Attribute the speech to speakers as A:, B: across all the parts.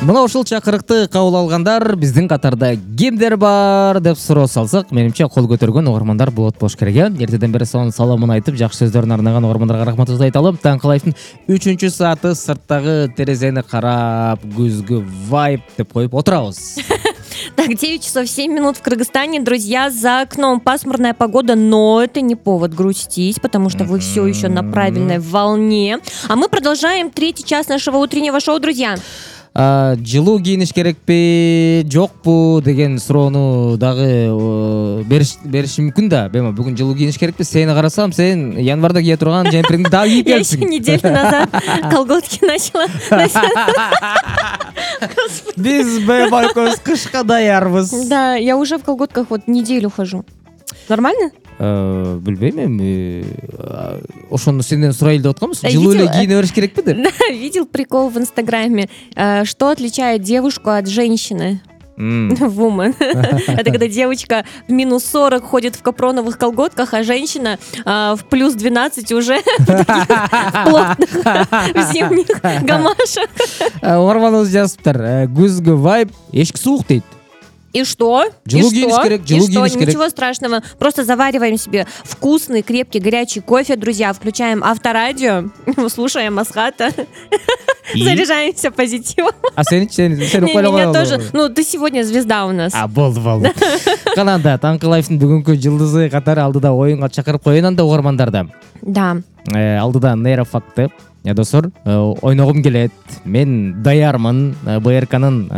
A: Мына ушул чакырыкты кабыл алгандар биздин катарда кимдер бар деп суроо салсак, менимче кол көтөргөн угармандар болот болуш керек. Эртеден бери сонун саламын айтып, жакшы сөздөрүн арнаган угармандарга рахматыбызды айталы. Таңкы лайфтын 3-чү сааты сырттагы терезени карап, күзгү вайб деп коюп отурабыз.
B: Так, 9 часов 7 минут в Кыргызстане. Друзья, за окном пасмурная погода, но это не повод грустить, потому что вы все еще на правильной волне. А мы продолжаем 3-й час нашего утреннего шоу, друзья.
A: Жылуу кийиниш керекпи, жокпу деген суроону дагы бериш мүмкүн да. Бүгүн жылуу кийиниш керекпи? Сени карасам, сен январда кие турган жемпириңди дагы кийип келипсиң.
B: Я еще неделю назад колготки начала.
A: Биз экөөбүз кышка даярбыз.
B: Да, я уже в колготках вот неделю хожу. Нормально?
A: Билбейм эми. Ошону сенден сурайлы деп атканбыз. Жылуу эле кийине бериш керекпи деп?
B: Видел прикол в Инстаграме? Что отличает девушку от женщины? Woman. Это когда девочка в минус 40 ходит в капроновых колготках, а женщина в плюс 12 уже в плотных зимних гамашах.
A: Угарманыбыз жазыптыр. Күзгү вайб, эшик суук дейт.
B: И что?
A: Жылуу кийиниш керек, жылуу кийиниш керек.
B: Ничего страшного. Просто завариваем себе вкусный, крепкий, горячий кофе, друзья. Включаем авторадио, слушаем Асхата. Заряжаемся позитивом.
A: А сен
B: меня тоже. Ну, ты сегодня звезда у нас.
A: Болду. Канада, Таңкы лайфтын бүгүнкү жылдызы катары алдыда оюнга чакырып коеюн анда угармандарды.
B: Да.
A: Алдыда нейрофакты. Достор, ойногум келет. Мен даярмын. БРКнын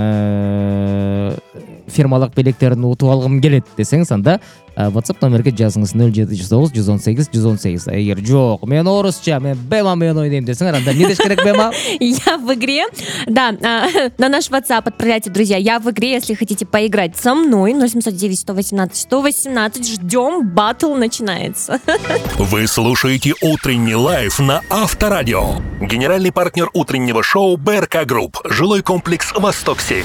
A: фирмалык белектерин утуп алгым келет десеңиз, анда WhatsApp номерге жазыңыз 0709 118 118. Эгер жок, мен орусча, мен бема-мен ойнойм десеңер, анда не деш керек бема?
B: Я в игре. Да, на наш WhatsApp отправляйте, друзья. Я в игре, если хотите поиграть со мной. 0709 118 118. Ждем, баттл начинается.
C: Вы слушаете «Утренний лайф» на Авторадио. Генеральный партнер утреннего шоу БРК Групп. Жилой комплекс «Восток-7».